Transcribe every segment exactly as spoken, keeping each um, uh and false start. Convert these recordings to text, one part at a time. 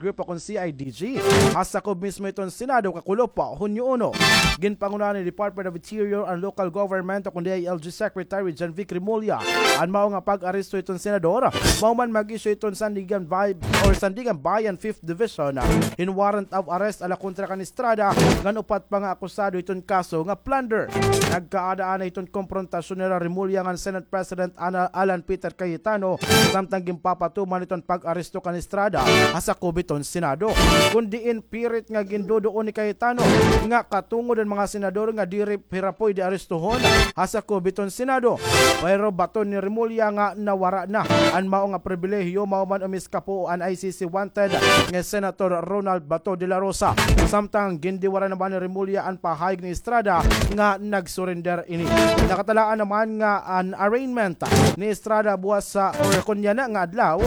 Group o kon C I D G, ha sakob mismo iton Senado kakulop pa Hunyo uno. Ginpangunahan ni Department of Interior and Local Government o kon D I L G Secretary John Vic Remulla an mao nga pag-aresto iton senador, mao man mag-issue iton Sandigan Bay or Sandiganbayan Fifth Division hin warrant of arrest ala kontra kan Estrada ngan upat pa nga akusado iton kaso nga plunder. Nagkaada anay iton komprontasyon nira Remulla ngan Senate President Ana-, Alan Peter Cayetano, samtang ginpapatuman iton pag-aresto kan Estrada ha sakob iton Senado. Kon diin pirit nga ginduduon ni Cayetano nga katungod an mga senador nga diri hira pwede arestohon ha sakob iton Senado. Pero baton ni Remulla nga nawara na an mao nga pribilehiyo, mao man umiskapo an I C C wanted nga Senator Ronald Bato de la Rosa. Samtang gindiwara naman ni Remulla an pahayag ni Estrada nga nag-surrender ini. Nakatalaan naman nga an arraignment ni Estrada buwas sa, or kunya na nga adlaw,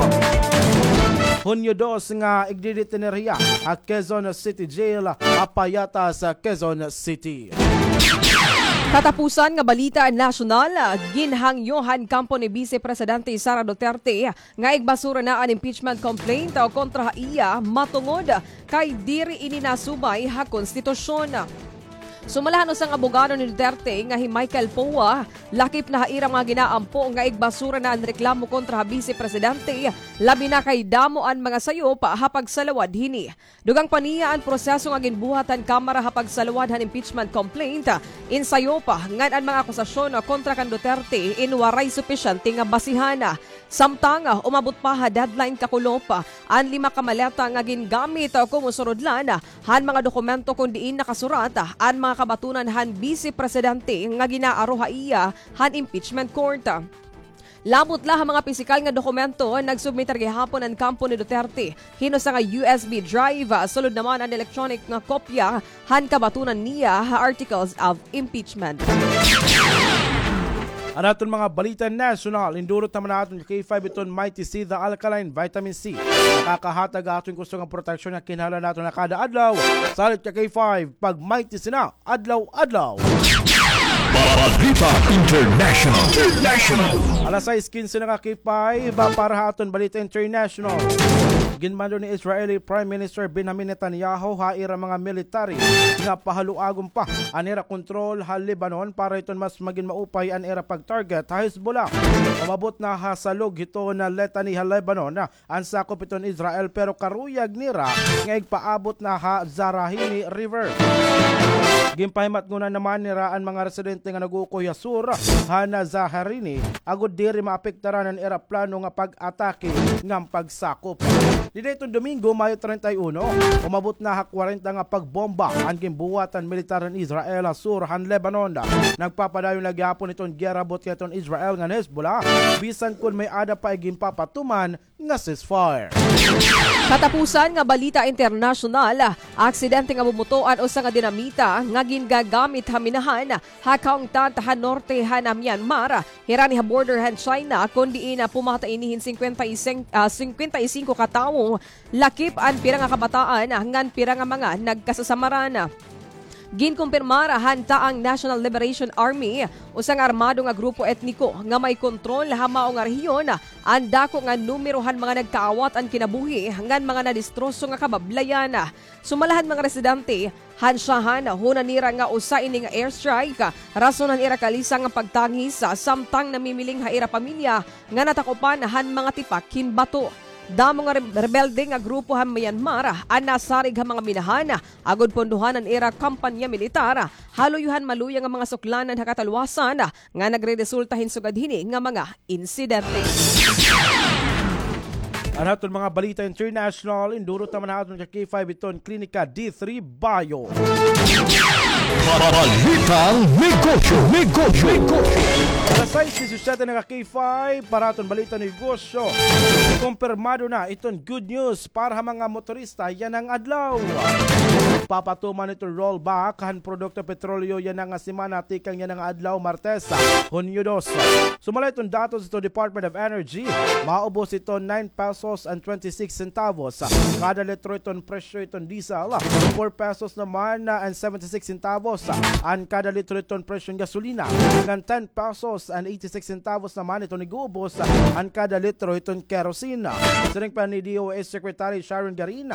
Hunyo dos, nga igdidetener hiya ha Quezon City Jail, ha Payatas, Quezon City. Katapusan nga balita nasyonal, ginhangyo han kampo ni Vice Presidente Sara Duterte nga igbasura na an impeachment complaint kontra ha iya matungod kay diri ini nasubay ha konstitusyon. Sumala han usa nga abogado ni Duterte nga hi Michael Poa, lakip na ha ira mga ginaampo nga igbasura na an reklamo kontra ha Vice Presidente, labi na kay damo an mga sayop ha pagsalawad hini. Dugang pa niya an proseso nga ginbuhat han Kamara ha pagsalwad han impeachment complaint, in sayop ngan an mga akusasyon kontra kan Duterte in waray supisyente nga basihan. Samtang umabot pa ha deadline kakulop an lima ka maleta nga gingamit komo surudlan han mga dokumento kon diin nakasurat an mga kabatunan han Bise Presidente nga ginaaro ha iya han impeachment court. Labot la ha mga pisikal nga dokumento, nagsubmitar gihapon an kampo ni Duterte hin usa nga U S B drive, sulod naman an electronic nga kopya han kabatunan niya ha articles of impeachment. An aton mga balita nasyonal, indurot naman naton ka K five iton Mighty C, the alkaline vitamin C. Nakakahatag aton kusog nga proteksyon nga kinahanglan naton ha kada adlaw. Salit ka K five, pag Mighty C na, adlaw-adlaw. Balita International. International. Alas sais kinse na ka K five, para ha aton balita international. Ginmando ni Israeli Prime Minister Benjamin Netanyahu ha ira mga military nga pahaluagon pa an ira kontrol ha Lebanon para hiton mas magin maupay an ira pag-target ha Hezbollah. Umabot na ha salog hiton Litani ha Lebanon an sakop hiton Israel, pero karuyag nira nga igpaabot na ha Zaherini River. Ginpahimatngonan naman nira an mga residente nga nag-uukoy ha sur han Zaherini agod diri maapektaran an ira plano nga pag-atake ngan pagsakop. Dida hiton Domingo, Mayo treinta y uno, umabot na ha kwarenta nga pagbomba an ginbuhat han militar han Israel ha sur han Lebanon. Nagpapadayon la gihapon hiton giyera buot hiton Israel ngan Hezbollah, bisan kon may-ada pa iginpapatuman nga ceasefire. Katapusan nga balita internasyonal, aksidente nga bumuto an usa nga dinamita nga gingagamit ha minahan ha Khong Thad ha norte han Myanmar, hirani ha border han China, kon diin pumatay ini hin singkwenta y singko, ah, singkwenta y singko ka tawo, lakip an pira nga kabataan ngan pira nga mga nagkasasamaran. Ginkumpirmar han Ta'ang National Liberation Army, usa nga armado nga grupo etniko nga may kontrol ha mao nga rehiyon, an dako nga numero han mga nagkaawat an kinabuhi ngan mga nadistroso nga kabablayan. Sumala han mga residente han Shahan, hunan nira nga usa ini nga airstrike rason han ira kalisang nga pagtangis, samtang namimiling ha ira pamilya nga natakupan han mga tipak hin bato. Damo nga re-, rebelde nga grupo han Myanmar an nasarig ha mga minahan agod pondohan an ira kampanya militar ha luyo han maluya nga mga suklanan ha katalwasan nga nagreresulta hin sugad hini nga mga insidente. An aton mga balita international, indurot naman ha aton ka K five iton Klinika D three Bio. Balitang negosyo, negosyo, negosyo. Alas sais disisiyete na ka K five para aton balita negosyo. Kumpirmado na iton good news para ha mga motorista yana nga adlaw. Papatuman iton rollback han produkto petrolyo yana nga semana tikang yana nga adlaw, Martes, Hunyo dos. Sumala iton datos iton Department of Energy, maubos iton nine pesos and twenty-six centavos kada litro iton presyo iton diesel, four pesos naman, ah, and seventy-six centavos an kada litro iton presyo hin gasolina, ngan ten pesos and eighty-six centavos naman iton ig-uubos an kada litro iton kerosene. Siring pa ni D O H Secretary Sharon Garin,